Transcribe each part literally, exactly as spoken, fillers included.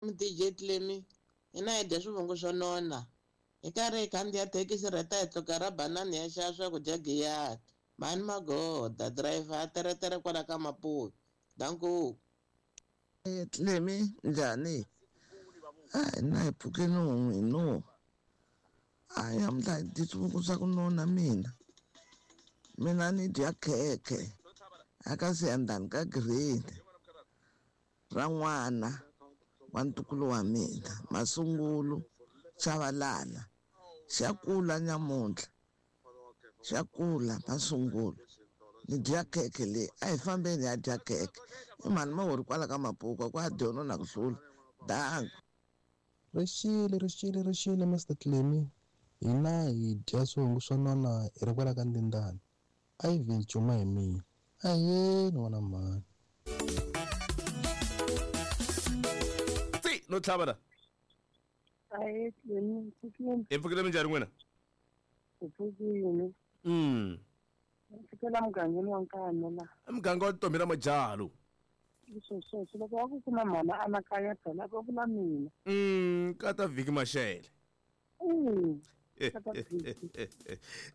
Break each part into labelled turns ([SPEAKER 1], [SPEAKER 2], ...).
[SPEAKER 1] D J Clemi hina hi dya swivungu swo nona hi karhi hi khandziya thekisi rheta hi tluka ra banani ya xava swakudya giyani mhani magoda driver a teretere kwala ka Maputo danko.
[SPEAKER 2] Eh Clemi njhani? A na hi pfukeni n'wi no a namuntlha hi dyi swivungu swa ku nona mina mina ni dya khekhe a ka siyandhani ka green ra n'wana wa ntukulu wa mina Masungulo Chavalala xa kula nyamuntlha xa kula Masungulo ni dya khekhe leyi a hi fambeni ya dya khekhe i mhani mahori kwala ka Mapuka kwa dyona na ku hlula danko.
[SPEAKER 3] Rixile rixile rixile Mister Clemi hina hi dya swivungu swo nona hi ri kwala ka Ndindani Ivan Chuma hi mina ahee n'wana mhani.
[SPEAKER 4] Tsi no tlhava la.
[SPEAKER 5] Ahee Clemi pfukile.
[SPEAKER 4] Hi pfukile minjhani n'wina?
[SPEAKER 5] Hi pfukile.
[SPEAKER 4] Mm.
[SPEAKER 5] Pfukela mugangeni wa Nkano la.
[SPEAKER 4] Muganga wa Ntombi na Majalo.
[SPEAKER 5] Leswo sweswo loko wa ku kuma mhana anakanya phela va vula mina.
[SPEAKER 4] Mm, kata vhiki Mashele.
[SPEAKER 5] Mm. Kata vhiki.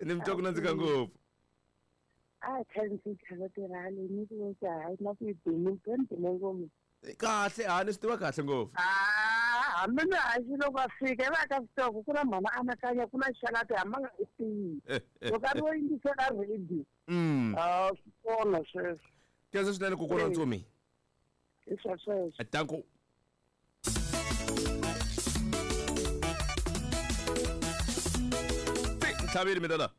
[SPEAKER 4] Ni mi twa ku nandzika ngopfu.
[SPEAKER 5] A khensi tlhela tirhale ni ku ka hayi na ku bini bini ngopfu.
[SPEAKER 4] Kahle a ni swi tiva kahle ngopfu.
[SPEAKER 5] Ah, hambi ni haxi loko a fika va ka switoko ku na mhana anakanya ku na xalati hamba nga i tiyi. Loko a ri wo yingisela radio.
[SPEAKER 4] Mm.
[SPEAKER 5] Ah, swi kona sweswo.
[SPEAKER 4] Khensa swinene kokwana Ntsumi.
[SPEAKER 5] Hi swa sweswo.
[SPEAKER 4] Danko. Ntlhaveli mina la.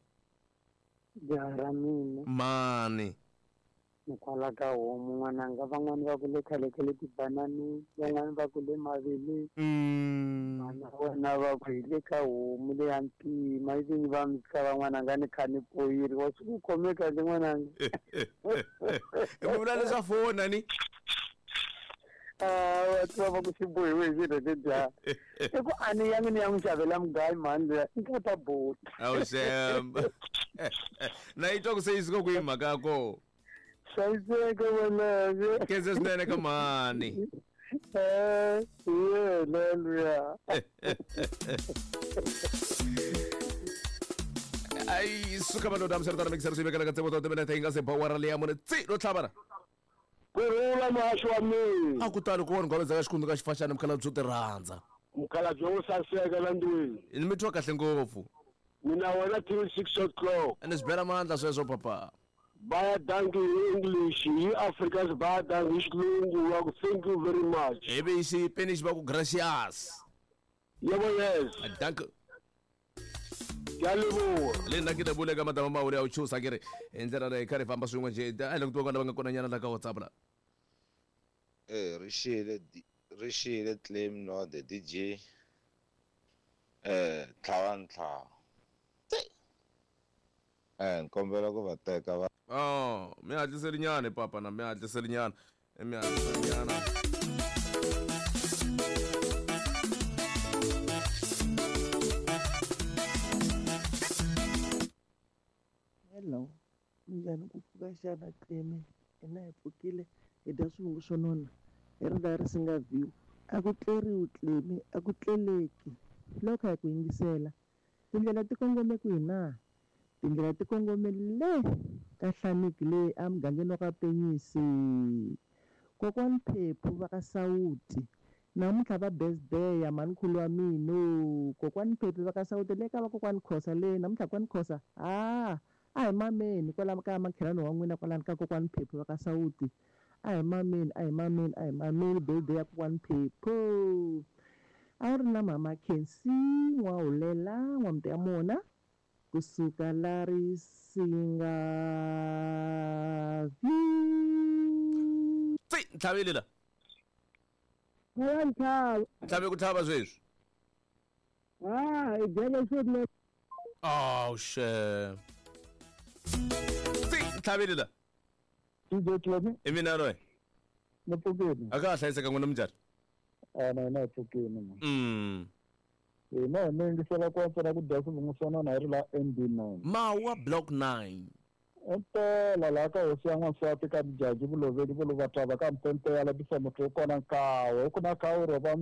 [SPEAKER 5] Jaha ra mina.
[SPEAKER 4] Mani.
[SPEAKER 5] Kwala ka homu n'wananga van'wani va ku le khale ka le tibanani van'wani va ku le maveleni.
[SPEAKER 4] Mm.
[SPEAKER 5] Mana wena va ku hi le ka homu leya ntima ivi va mi tshika van'wananga ni kha ni poyiriwa swi ku khome kahle n'wananga.
[SPEAKER 4] I vula leswa fona ni?
[SPEAKER 5] Ah, va tiva va ku xi bohiwe hi xirheke dya. I ku a ni yangi ni ya n'wi xavela mugayo mhani luya i nga ta bota.
[SPEAKER 4] Awu xem. Na yi twa ku se yi suka kwihi mhaka ya kona?
[SPEAKER 5] Hlayiseka wena.
[SPEAKER 4] Khensa swinene ka mhani.
[SPEAKER 5] Eh, yena luya.
[SPEAKER 4] Ai suka madoda mseritana mixer swi vekela ka tsebo to timene hi nga se bawara leya mune tsi ro tlhavana.
[SPEAKER 6] Kurhula muhaxi wa mina.
[SPEAKER 4] A ku tali ku vona ngwaveza ka xikundu ka xifaxana mukhalabye wo ti rhandza.
[SPEAKER 6] Mukhalabye wo saseka la ndlwini.
[SPEAKER 4] Ni mi twa kahle ngopfu.
[SPEAKER 6] Mina wena till six o'clock.
[SPEAKER 4] Ni swi bela mandla sweswo papa.
[SPEAKER 6] Baya dankie in English, hi Afrikaans baya dankie hi Xilungu wa ku thank you very much.
[SPEAKER 4] Ivi hi Xipanish va ku gracias.
[SPEAKER 6] Yebo yes.
[SPEAKER 4] Dankie.
[SPEAKER 6] Ke a leboha.
[SPEAKER 4] Le nna ke lebohile ka matama maholo ya u chusa ke re hi ndlela leyi kha ri famba swin'we njhe a hi le ku tiva lava nga kona nyana la ka WhatsApp la.
[SPEAKER 7] Eh rixile rixile Clem no the D J eh tlhava ntlhava. Eh nkombela ku va teka va.
[SPEAKER 4] Oh, mi hatliseli nyana papa na mi hatliseli nyana. Mi hatliseli nyana.
[SPEAKER 8] Hello. Minjhani ku pfuka xana Clemi? Hina hi pfukile hi dya swivungu swo nona hi ri laha ri singa view. A ku tleriwi Clemi, a ku tleleki. Loko hi ku yingisela tindlela ti kongome kwihi na? Tindlela ti kongome le ka Hlaniki le emugangeni wa ka Penyisi. Kokwani Phephu va ka Sawuti namuntlha va birthday ya mhanikhulu wa mina. Kokwani Phephu va ka Sawuti le ka vakokwani Khosa le namuntlha kokwani Khosa ah a hi mameni kwala ka makhelwani wa n'wina kwalani ka kokwani Phephu va ka Sawuti. A hi mameni a hi mameni a hi mameni birthday ya kokwani Phephu. A ri na mama Khensi N'wahulela N'wamti ya mona kusuka la Risinga view.
[SPEAKER 4] Tsi ntlhaveli la.
[SPEAKER 5] Ya ntlhava.
[SPEAKER 4] Ntlhave ku tlhava sweswi.
[SPEAKER 5] Ah, hi dyela swo.
[SPEAKER 4] Oh shit. Tsi ntlhaveli la.
[SPEAKER 5] D J Clemi.
[SPEAKER 4] I mina loyi.
[SPEAKER 5] Ni pfukile.
[SPEAKER 4] A ka ha hlayiseka n'wina minjhani?
[SPEAKER 5] A na hina hi pfukile man.
[SPEAKER 4] Mm.
[SPEAKER 5] Hina hi mi yingisela ku antswa ku dya swivungu swo nona hi ri la M B nine.
[SPEAKER 4] Mawa block nine.
[SPEAKER 9] Impela laha ka hosi ya n'wansati ka Mujaji Vuloveli Vuluvatava ka Mpempe ya labisa muti wu kona nkawe ku na kawu ro va